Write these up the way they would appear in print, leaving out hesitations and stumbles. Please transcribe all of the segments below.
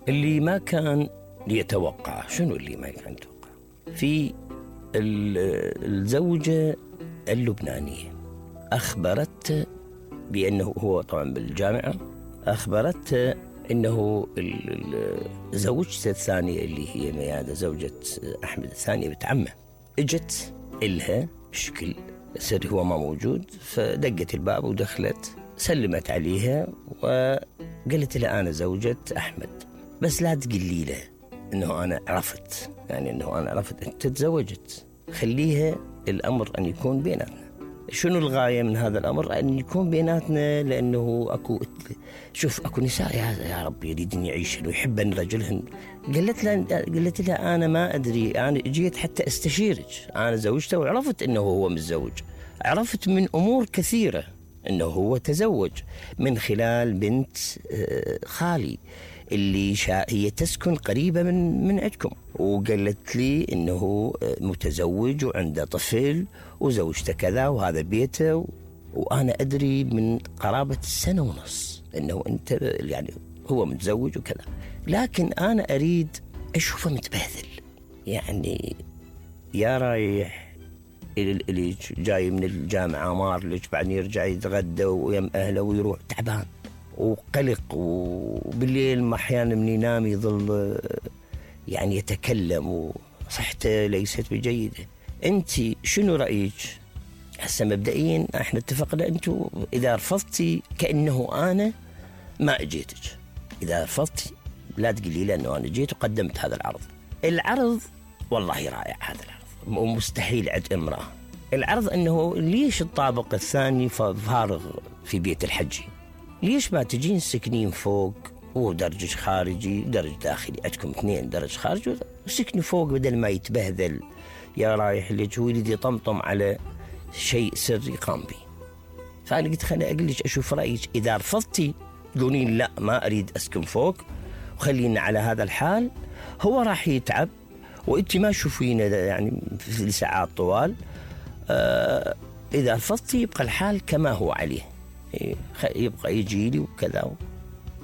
اللي ما كان يتوقع. شنو اللي ما كان يتوقع؟ في الزوجة اللبنانية أخبرته بأنه هو طبعا بالجامعة، أخبرته أنه زوجته الثانية اللي هي ميادة زوجة أحمد الثانية بنت عمه اجت إلها بشكل سري، هو ما موجود، فدقت الباب ودخلت، سلمت عليها وقالت لها أنا زوجة أحمد، بس لا تقولي له أنه أنا عرفت، يعني أنه أنا عرفت أنت تزوجت، خليها الأمر أن يكون بيناتنا. شنو الغاية من هذا الأمر؟ أن يكون بيناتنا، لأنه أكو نساء يا رب يريدن يعيشن ويحبن رجلهن. قالت لها أنا ما أدري، أنا جيت حتى أستشيرك، أنا زوجته وعرفت أنه هو متزوج، عرفت من أمور كثيرة أنه هو تزوج من خلال بنت خالي اللي هي تسكن قريبة من عندكم، وقالت لي إنه متزوج وعنده طفل وزوجته كذا وهذا بيته، وأنا أدري من قرابة 1.5 سنة إنه أنت يعني هو متزوج وكذا، لكن أنا أريد أشوفه متبهذل، يعني يا رايح إلى جاي من الجامعة مارلج، بعدين يرجع يتغدى ويم أهله ويروح تعبان وقلق، وبالليل أحيانا من ينام يظل يعني يتكلم وصحته ليست بجيدة. أنت شنو رأيك؟ هسه مبدئيا احنا اتفقنا أنتوا إذا رفضتي كأنه أنا ما أجيتك، إذا رفضتي لا تقولي لي أنه أنا جيت وقدمت هذا العرض والله رائع هذا العرض، ومستحيل عند امرأة. العرض أنه ليش الطابق الثاني فارغ في بيت الحجي؟ ليش ما تجين سكنين فوق ودرج خارجي درج داخلي، عندكم 2 درج خارجي وسكنوا فوق بدل ما يتبهذل يا رايح اللي هو يريد يطمطم على شيء سري قام به. فأنا قلت خليني أقول لك أشوف رأيك، إذا رفضتي تقولين لا ما أريد أسكن فوق وخلينا على هذا الحال، هو راح يتعب وإنت ما تشوفينه يعني في ساعات طوال. إذا رفضتي يبقى الحال كما هو عليه، يبقى يجي لي وكذا.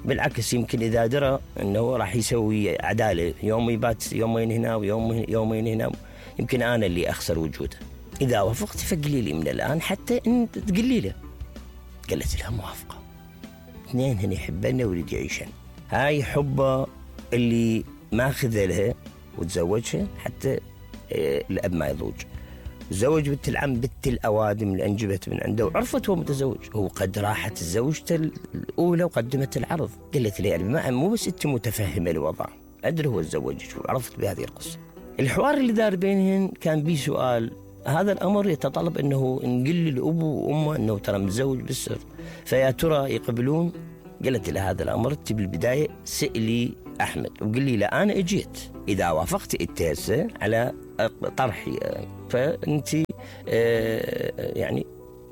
بالعكس يمكن إذا درى أنه راح يسوي عدالة، يوم يبات يومين هنا ويومين هنا، يمكن أنا اللي أخسر وجوده. إذا وافقت فقلي لي من الآن حتى أن تقلي له. قالت لها موافقة، 2 هنا يحبنا ويريد يعيشن، هاي حبه اللي ما أخذ لها وتزوجها حتى الأب ما يضوج. زوج بنت العم بنت الأوادم اللي أنجبت من عنده وعرفت هو متزوج، هو قد راحت زوجته الأولى وقدمت العرض. قالت لي يعني مو بس أنت متفهمة الوضع، أدري هو تزوجك وعرفت بهذه القصة. الحوار اللي دار بينهن كان بيه سؤال، هذا الأمر يتطلب أنه نقول للأبو وأمه أنه ترى متزوج بالسر، فيا ترى يقبلون؟ قالت له هذا الأمر أنت بالبداية سألي أحمد وقل لي لا أنا اجيت، إذا وافقت التاسة على طرحي فأنت يعني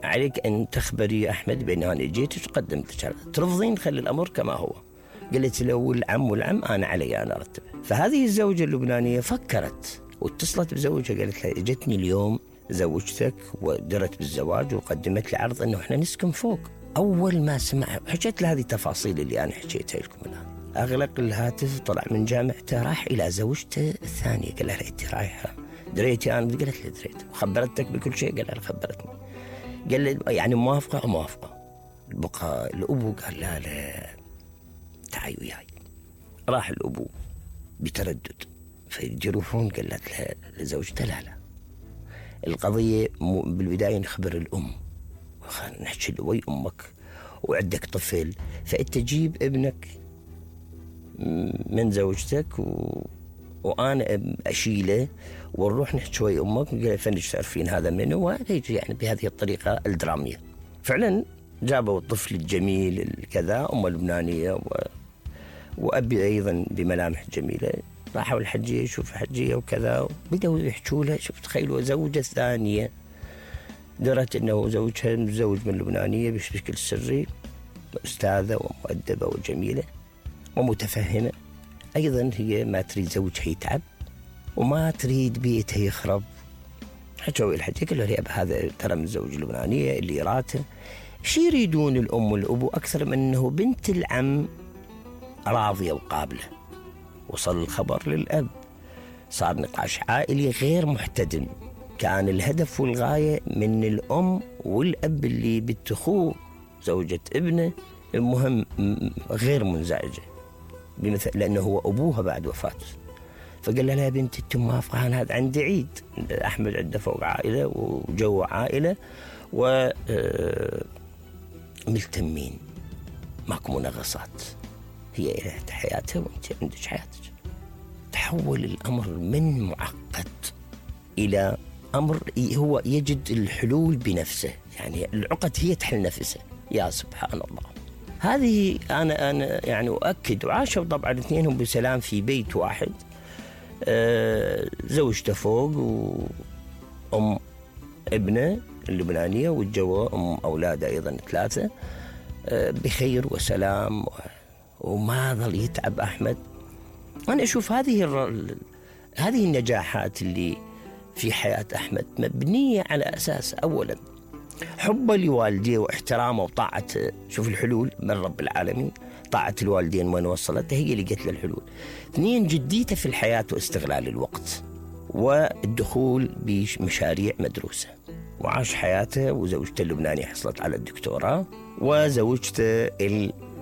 عليك أن تخبري أحمد بأن أنا اجيت وقدمت لك، ترفضين خلي الأمر كما هو. قالت له والعم أنا علي أنا أرتبه. فهذه الزوجة اللبنانية فكرت واتصلت بزوجها، قالت له اجتني اليوم زوجتك ودرت بالزواج وقدمت لي عرض أنه إحنا نسكن فوق. أول ما سمع حكيت له هذه التفاصيل اللي أنا حكيتها لكم الآن، أغلق الهاتف، طلع من جامعته، راح إلى زوجته الثانية، قال لها أنت رايحة دريتي؟ أنا قالت له دريت. وخبرتك بكل شيء؟ قال لها خبرتني. قال لي يعني موافقة. بقى الأبو قال لا تعي وياي. راح الأبو بتردد فيجرفون، قالت لها لزوجته لا القضية بالبداية نخبر الأم، نحكي له وي أمك وعندك طفل، فأنت جيب ابنك من زوجتك وأنا أشيله ونروح نحكي وي أمك فنش تعرفين هذا منه، ويجي يعني بهذه الطريقة الدرامية. فعلا جابوا الطفل الجميل الكذا، أم لبنانية وأبي أيضا بملامح جميلة، راحوا الحجية يشوف حجية وكذا، بدأوا يحكوا له. شوف تخيلوا زوجة ثانية درت أنه زوجها متزوج من لبنانية بشكل سري، أستاذة ومؤدبة وجميلة ومتفهمة. أيضا هي ما تريد زوجها يتعب وما تريد بيتها يخرب. حكوا الحجية قالوا لي هذا ترى من زوج اللبنانية اللي راته. شي يريدون الأم والأبو أكثر من أنه بنت العم راضية وقابلة؟ وصل الخبر للأب، صار نقاش عائلي غير محتدم. كان الهدف والغاية من الأم والأب اللي بنت أخوه زوجة ابنه، المهم غير منزعجة لأنه هو أبوها بعد وفاته. فقال لها يا بنتي انت موافقة؟ أنا هذا عندي عيد، أحمد عنده فوق عائلة وجو عائلة وملتمين، ماكو منغصات، هي لها حياتها وانت عندك حياتك. تحول الأمر من معقد إلى أمر هو يجد الحلول بنفسه، يعني العقد هي تحل نفسها. يا سبحان الله. هذه أنا يعني أؤكد. وعاشوا طبعا اثنينهم بسلام في بيت واحد، زوجته فوق وأم ابنه اللبنانية، والجوا أم أولاده أيضا 3 بخير وسلام، وما ظل يتعب أحمد. أنا أشوف هذه النجاحات اللي في حياة أحمد مبنية على أساس أولا حبه لوالديه واحترامه وطاعته. شوف الحلول من رب العالمين، طاعة الوالدين وين وصلت هي اللي قتل الحلول. 2 جديته في الحياة واستغلال الوقت والدخول بمشاريع مدروسة. وعاش حياته، وزوجته اللبنانية حصلت على الدكتوراه، وزوجته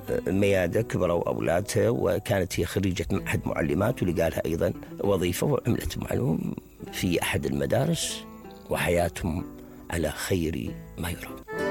الميادة كبروا أولادها، وكانت هي خريجة معهد معلمات ولقى لها أيضا وظيفة وعملت معلوم في أحد المدارس، وحياتهم على خير ما يرام.